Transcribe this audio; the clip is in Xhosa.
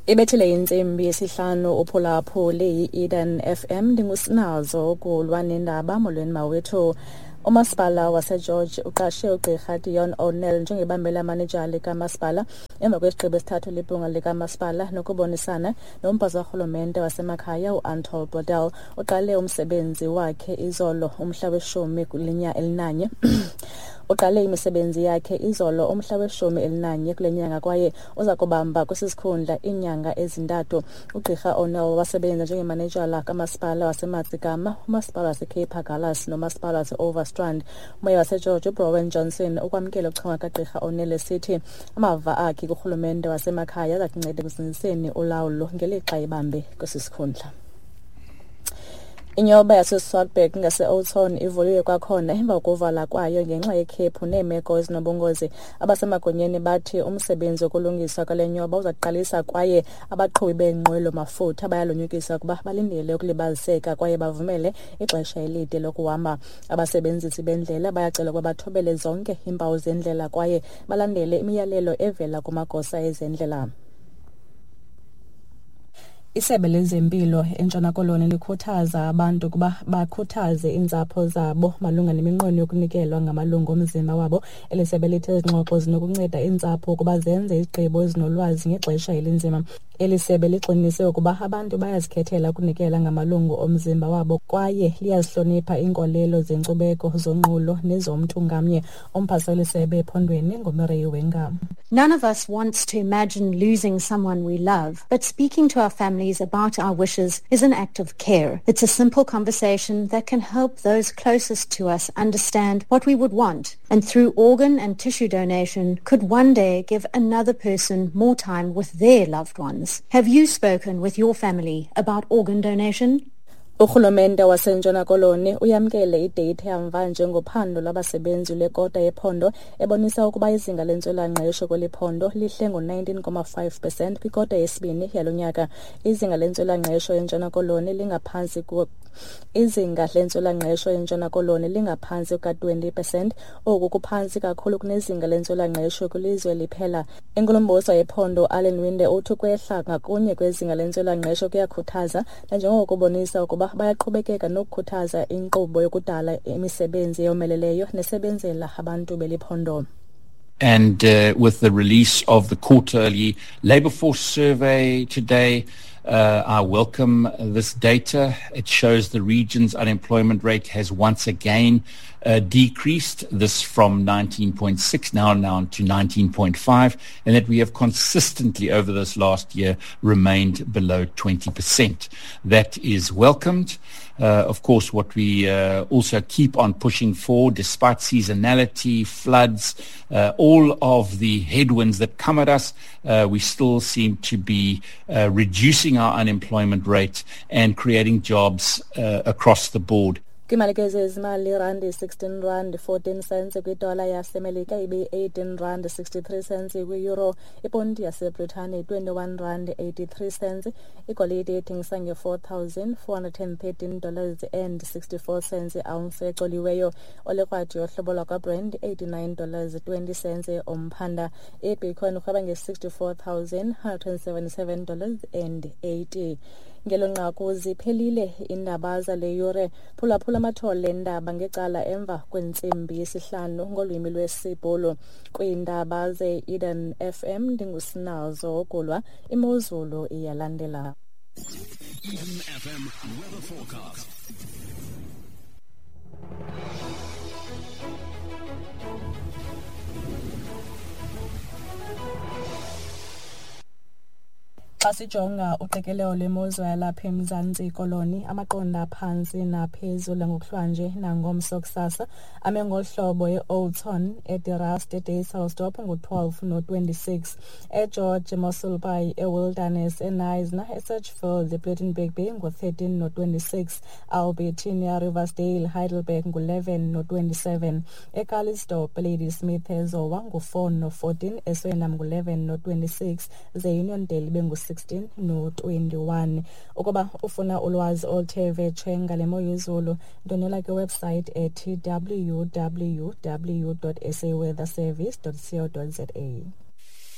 Ibethile intsimbi yesihlanu uphulaphule yi-Eden FM. Ndingusinazo kulwa nendaba. Molweni mawethu. Umasipala waseGeorge uqashe ugqirha Dion O'Neill njengebambela manejala likamasipala emva kwesigqibo esithathwe libhunga likamasipala nokubonisana nomphathi karhulumente wasemakhaya uAntol Bordel. Uqale umsebenzi wakhe izolo umhla weshumi elinanye. Uqale imisebenzi yakhe izolo umhla we-11 kule nyanga kwaye uza kubamba kwesi sikhundla iinyanga ezintathu. Ugqirha O'Neill wasebenza njengemanejala kamasipala waseMatsigama, umasipala waseCape Agulhas nomasipala wase-Overstrand. Umeya waseGeorge uBrowen Johnson ukwamkele ukuchonga kagqirha O'Neill esithi amava akhe kurhulumente wasemakhaya aza kunceda ekuzinziseni ulawulo ngelixa ebambe kwesi sikhundla. Inyoba yaseSwartberg ngase-Oudtshoorn ivuliwe kwakhona emva kokuvala kwayo ngenxa yekhephu neemeko ezinobungozi. Abasemagunyeni bathi umsebenzi wokulungiswa kwale nyoba uza kuqalisa kwaye abaqhubi beenqwelo-mafutha bayalonyukiswa ukuba balindele ukulibaziseka kwaye bavumele ixesha elide lokuhamba. Abasebenzisi bendlela bayacelwa ukuba bathobele zonke iimpawu zendlela kwaye balandele imiyalelo evela kumagosa ezendlela. Isebe lezempilo eNtshona Koloni likhuthaza abantu ukuba bakhuthaze iintsapho zabo malunga neminqweno yokunikelwa ngamalungu omzimba wabo. Eli sebe lithi ezi ngxoxo zinokunceda iintsapho ukuba zenze izigqibo ezinolwazi ngexesha elinzima. Eli sebe ligxininise ukuba abantu bayazikhethela ukunikela ngamalungu omzimba wabo kwaye liyazihlonipha iinkolelo zenkcubeko, zonqulo nezomntu ngamnye. Umphathiswa weli sebe ephondweni nguMireille Wenga. None of us wants to imagine losing someone we love, but speaking to our families about our wishes is an act of care. It's a simple conversation that can help those closest to us understand what we would want, and through organ and tissue donation could one day give another person more time with their loved ones. Have you spoken with your family about organ donation? Urhulumente waseNtshona Koloni uyamkele ideyitha yamva ngophando lwabasebenzi lwekota yephondo ebonisa ukuba izinga lentswela-ngqesho kweli phondo lihle ngo-19.5% kwikota yesibini yalo nyaka. Izinga lentswela-ngqesho eNtshona Koloni lingaphantsi Izinga lentswela-ngqesho eNtshona Koloni lingaphantsi kuka-20%. Oku kuphantsi kakhulu kunezinga lentswela-ngqesho kwilizwe liphela. Inkulumbuso yephondo uAllan Winde uthi ukwehla ngakunye kwezinga lentswela-ngqesho kuyakhuthaza nanjengoko kubonisa ukuba bayaqhubekeka nokukhuthaza inkqubo yokudala imisebenzi eyomeleleyo nesebenzela abantu beli phondo. And with the release of the quarterly labor force survey today, I welcome this data. It shows the region's unemployment rate has once again decreased, this from 19.6 now down to 19.5, and that we have consistently over this last year remained below 20%. That is welcomed. Of course, what we also keep on pushing for, despite seasonality, floods, all of the headwinds that come at us, we still seem to be reducing our unemployment rate and creating jobs across the board. Kwimalike zezimali, irandi 16 rand 14 cents kwidola yaseMelika, ibe-18 rand 63 cents kwi-euro, iponti yaseBritane 21 rand 83 cents, igolide ithengisa nge-$4,413 and 64 cents i-ounce ecoliweyo, olekrwadi yohlobo lwakwaBrent $89 20 cents umphanda, ibitcoin irhweba nge-$64,177 and 80. Ngelo nqaku ziphelile iindaba zale yure. Phulaphula amathole endaba ngecala emva kwentsimbi yesihlanu ngolwimi lwesiBhulu. Kwiindaba ze-Eden FM ndingusinazo Ogulwa. Imozulu iyalandela. Eden FM weather forecast. Xa sijonga uqikelelo lwemozulu yalapha eMzantsi Koloni, amaqondo aphantsi naphezulu ngokuhlwanje nangomso kusasa ame ngolu hlobo: e-Oudtshoorn, eDe Rust, eDysselsdorp ngu-12 no-26, eGeorge, eMossel Bay, eWilderness, eKnysna, eSedgefield, ePlettenberg Bay ngu-13 no-26, Albertina, Riversdale, Heidelberg ngu-11 no-27, eCalitzdorp, Ladysmith, eZowa ngu-4 no-14, eSwellnum ngu-11 no-26, ze-Uniondale ibe ngu-16 no-21. Ukuba ufuna ulwazi oluthe vetshe ngale mo yezulu, ndwendwela kwiwebsite ethi www.saweatherservice.co.za.